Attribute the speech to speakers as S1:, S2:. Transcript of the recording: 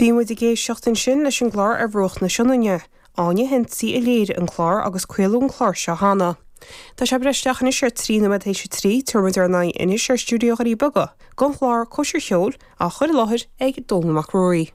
S1: Bhí muid ag éisteacht ansin leis an gclár Ar Bhruach na Sionainne. Áine Hensey a léirigh an clár agus craoladh an clár seo cheana. Tá sé ag breith isteach anois ar 3 nóiméad théis a 3, tabharfaidh muid ár n-aghaidh anois ar stiúideo Dhoirí Beaga don chlár Cóisir Cheoil á chur i láthair ag Dónall Mac Ruairí.